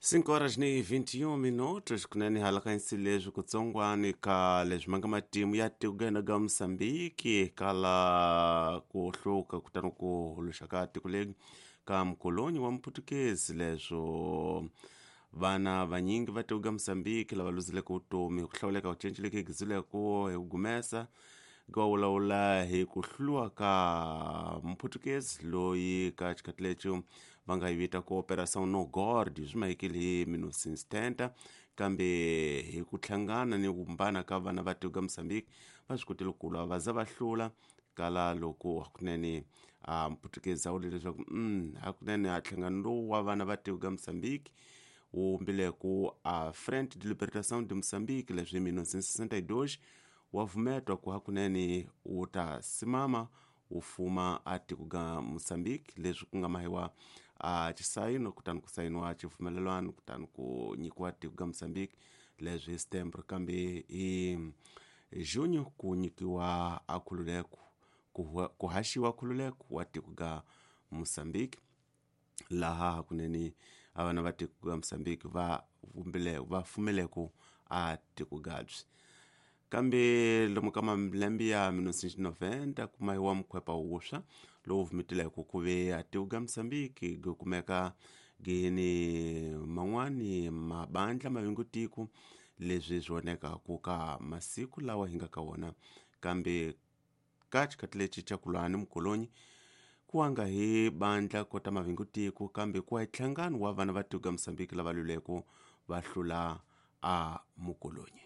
5 horas ni 21 minutos kunene hala ka leswi kutsongwani ka leswi ma nga matimu ya tiko ga Mosambiki kala ku hluka kutani ku huluxa ka tiko leri ka mukoloni wa Muputukezi, leswo vana vanyingi va tiko ga Mosambiki lava luzileke vutomi hi ku hlawuleka ku cinceleke gizileko hi ku gumesa ga vulavula hi ku hluriwa ka Muputukezi loyi ka xikhathi lexi va nga yi vita ku Operação No Gord, swi mahekile hi 1970, kambe hi ku hlangana ni ku vumbana ka vana va tiko ga Mosambiki va swi kotile ku lwa va za va hlula kala loko hakunene a Muputukezi a vule leswaku hakunene a nhlangano lowu wa vana va tiko ga Mosambiki wu vumbile ku a Frente de Libertação de Moçambique, leswi hi 1962 wa vumetwa ku hakunene wu ta simama wu fuma a tiko ga Mosambiki, leswi ku nga mahiwa a xisayino kutani ku sayiniwa xipfumelelwano kutani ku nyikiwa tiko ga Mosambiki leswi hi September, kambe hi junho ku nyikiwa a khululeko ku haxiwa khululeko wa tiko ga Mosambiki, laha hakunene a vana va tiko ga Mosambiki va vumbile va fumeleko a tiko gabyi. Kambe lomu ka malembe ya 1990 ku mahiwa mukhwepa wuswa lowu vumitileko ku ve a tiko ga Mosambiki gi kumeka gini man'wani mabandla mavingutiko leswi swi vonekaku ka masiku lawa hi nga ka wona, kambe ka xikhathi lexi xa ku lwa ni mukolonyi ku wanga hi bandla kota mavingutiko, kambe ku wa hi nhlangano wa vana va tiko ga Mosambiki lava lwileko va hlula a mukolonyi.